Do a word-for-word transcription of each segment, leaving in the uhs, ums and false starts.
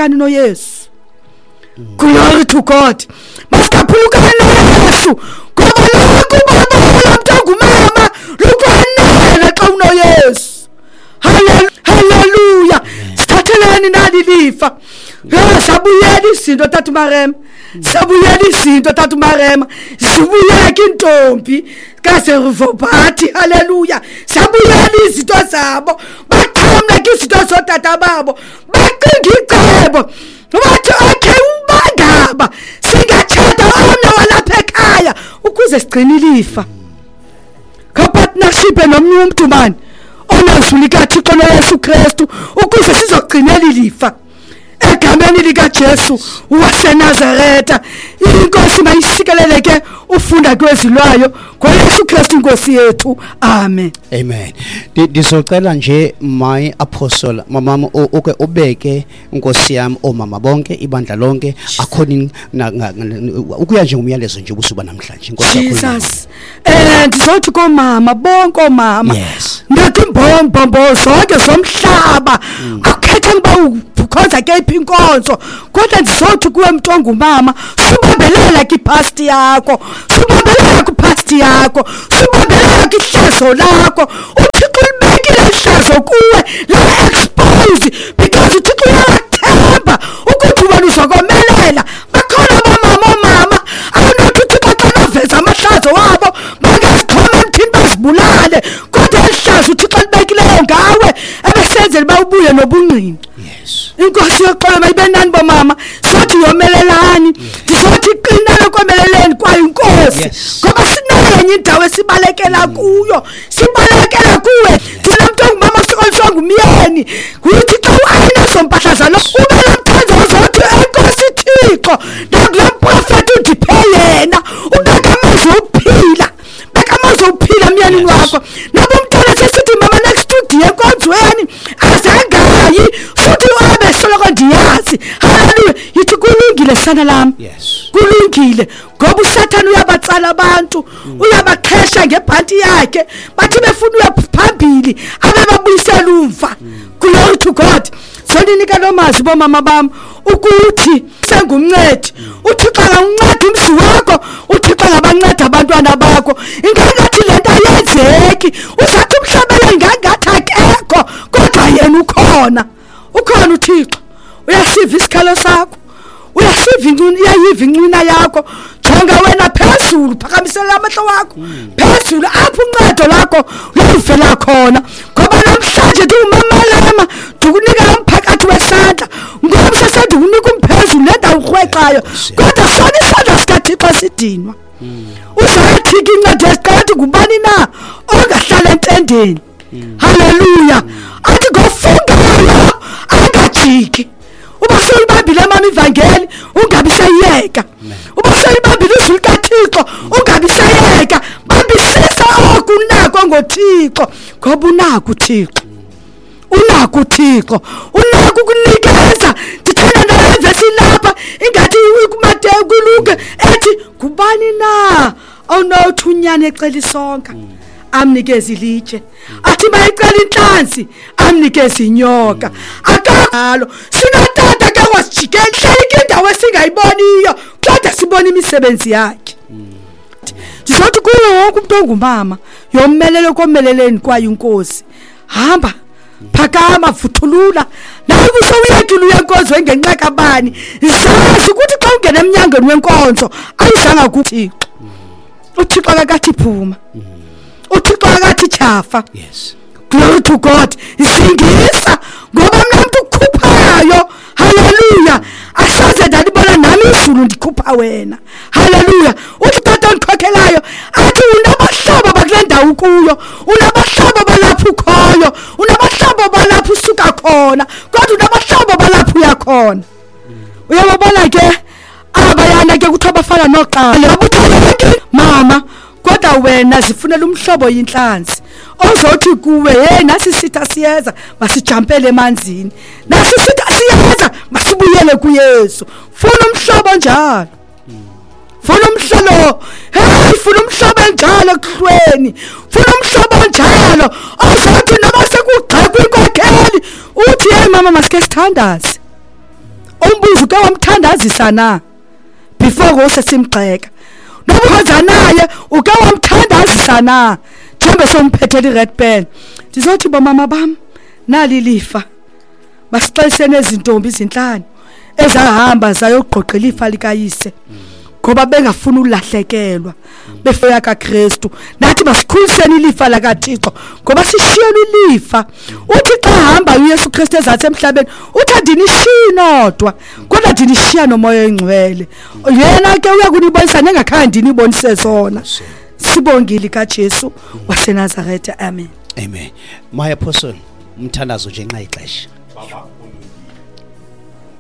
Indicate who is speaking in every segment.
Speaker 1: Masingaphulukani noYesu. Glory to God. Masingaphulukani noYesu. Ngoba lokhu baba mntu ongumama lukwanele xa unoYesu. Hallelujah. Sithatheleni nali lifa. Sabuyela izinto tata Marema. Sabuyela izinto tata Marema. Sibuyeke intombi kaZerubhabheli. Hallelujah. Sabuyela izinto zabo. Baxhamla izinto zotata babo. Bacinga icebo. Bathi okay ubangaba singatshata omnye walapha ekhaya ukuze sigcine ilifa. Ka-partnership nomnye umntu mani onezwi likaThixo noYesu Kristu ukuze sizogcinela ilifa. Egameni likaJesu waseNazaretha, inkosi mayisikeleleke ufunda kwezilwayo ngoYesu Kristu inkosi yethu. Amen.
Speaker 2: Amen. Ndizocela nje my apostle mama uke ubeke inkosi yami omama bonke ibandla lonke according ukuya nje ngumyalezo nje ubusuba namhlanje inkosi yakho.
Speaker 1: Jesus. Eh ndizothi komama bonke omama. Ndathi imbombo zonke zomhlaba akukhethe ngiba ukhonza ke iphi inkonzo kodwa ndizothi kuwe mntu ongumama subambelela kwipast yakho, subambelela kwipast yakho, subambelela kwihlazo lakho. uThixo ulibekile ihlazo kuwe la expose because uThixo uyathemba ukuthi wena uzokomelela. Bakhona abamama omama awunothi uThixo xa aveza amahlazo wabo bangazixhoma emthini bazibulale, kodwa ihlazo uThixo libekileyo ngawe ebesenzela uba ubuye nobungqina. Inkosi yoxolo mayibe nani bomama. Sothi yomelelani, ndizothi qinani komeleleni kwayo inkosi, ngoba sinayo enye indawo esibalekela kuyo, sibalekela kuwe. Thina mntu ongumama sokoliswa ngumyeni, uthi xa uayinazo mpahla zalo ube nomthandazo ozothi enkosi Thixo nakulo mprofethi undiphe yena, ubeka amazwi okuphila, beka amazwi okuphila emyenini wakho. Noba umntwana sesithi mama next studio enkonzweni azangayi futhi wabe soloko ndiyazi. Haleluya. Yithi kulungile sana lami.
Speaker 2: Yes.
Speaker 1: Kulungile ngoba uSathane uyabatsala abantu, uyabaqhesha ngebhanti yakhe, bathi befuna uya phambili abe babuyisela umva. Glory to God. Soninika lo mazwi bomama bami ukuthi sengumncedi. uThixo angawunceda umzi wakho, uThixo angabanceda abantwana bakho. Ingangathi lento ayenzeki, uzathi umhlabele ingangathi akekho, kodwa yena ukhona. Ukhona uThixo. Uyasiva isikhalo sakho, uyasiva incwina, uyayiva incwina yakho. Jonga wena phezulu, phakamisela amehlo wakho phezulu apho uncedo lakho luvela khona. Ngoba namhlanje ndiwumamalama ndikunika lo mphakathi wesandla, ngoba sesendikunika umphezulu le ndawo urhwexayo, kodwa sona isandla sikaThixo sidinwa. Uzathi ke incwadi yesiqala ngubani na ongahlala entendeni? Haleluya. Athi ngofungayo angajiki. Uba sewuyibambile mama ivangeli ungabi sayiyeka. Uba sewuyibambile izwi likaThixo ungabi sayiyeka. Bambisisa oku unako ngoThixo, ngoba unako uThixo. Unako uThixo, unako ukunikeza. Ndithanda nale vesi lapha ingathi kuMateyu kuLuke ethi ngubani na onothi unyana ecela isonka amnikeze ilitshe, athi mayicela inhlanzi amnikeze inyoka. Akalo sinotata ke wasijikela indawo esingayiboniyo kodwa sibona imisebenzi yakhe. Ndizothi kuwo wonke umuntu ongumama yomelelo komeleleni kwayo inkosi, hamba phakama vuthulula nawe usowuyekile uyenkonzo engenxa kabani. Zazi ukuthi xa ungena emnyangweni wenkonzo ayizanga kuThixo. uThixo akathi phuma, uThixo akathi tyhafa.
Speaker 2: Yes.
Speaker 1: Glory to God. Isingisa ngoba mina umuntu ukhuphayo. Hallelujah. Asaze ndalibona nami izulu ndikhupha wena. Hallelujah. Uthi tata ondikhokhelayo athi unabahlobo bakule ndawo kuyo, unabahlobo balapho ukhoyo, unabahlobo balapho usuka khona, kodwa unabahlobo balapho uya khona. Uyababona ke abayana ke kuthiwa bafana noqala mama, kodwa wena zifunela umhlobo yinhlanzi ozothi kuwe hey nasi sitha siyeza masijampele emanzini, nasi sitha siyeza masibuyele kuYesu. Funa umhlobo njalo, funa umhlolo, hey funa umhlobo njalo ekuhlweni, funa umhlobo njalo ozothi noma sekugxekwa inkokheli uthi hey mama masike sithandaze. Umbuzo ke wamthandazisa na before ngose simgxeka. Noba ukhonza naye uke wamthandazisa na njengoba somphethela i-red pen. Ndizothi bomama bam nali lifa. Masixeliseni ezintombi izinhlanu ezahamba zayogqogqela ifa likayise ngoba bengafuni ulahlekelwa befeya kaKristu. Nathi masikhuliseni ilifa lakaThixo ngoba sishiyelwe ilifa. Uthi xa hamba uYesu Kristu ezathe emhlabeni uthi andinishiyi nodwa kodwa ndinishiya noMoya oyiNgcwele. Yena ke uyakunibonisa nengakhange ndinibonise zona. Sibongile kaJesu waseNazaretha. Amen.
Speaker 2: Amen. My apostle, umthandazo nje nxa ixesha.
Speaker 3: Baba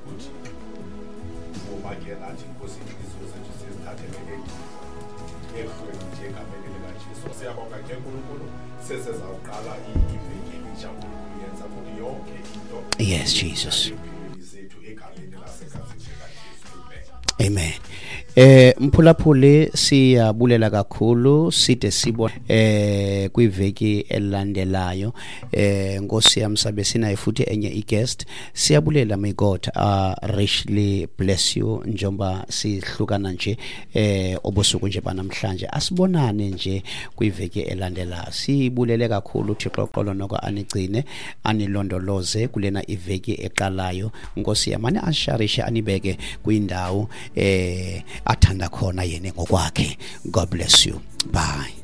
Speaker 3: uthi ngoba ke nathi Nkosi inhliziyo zethu sizithathele ehlweni nje egameni likaJesu. Siyabonga ke Nkulunkulu, sesezawuqala iveki elitsha Nkulunkulu, yenza ukuthi yonke into
Speaker 2: Yes Jesus
Speaker 3: zethu egameni laseGazini likaJesu.
Speaker 2: Amen. Eh mphulaphuli siyabulela kakhulu, side sibone eh kwiveki elandelayo. Eh Nkosi yami sabe sinayo futhi enye i-guest. Siyabulela, may God uh, richly bless you njengoba sihlukana nje eh obusuku nje banamhlanje. Asibonane nje kwiveki elandelayo. Sibulele kakhulu uThixo xolo noko anigcine anilondoloze kulena iveki eqalayo. Nkosi yami asharishe anibeke kwindawo eh athanda khona yena ngokwakhe. God bless you. Bye.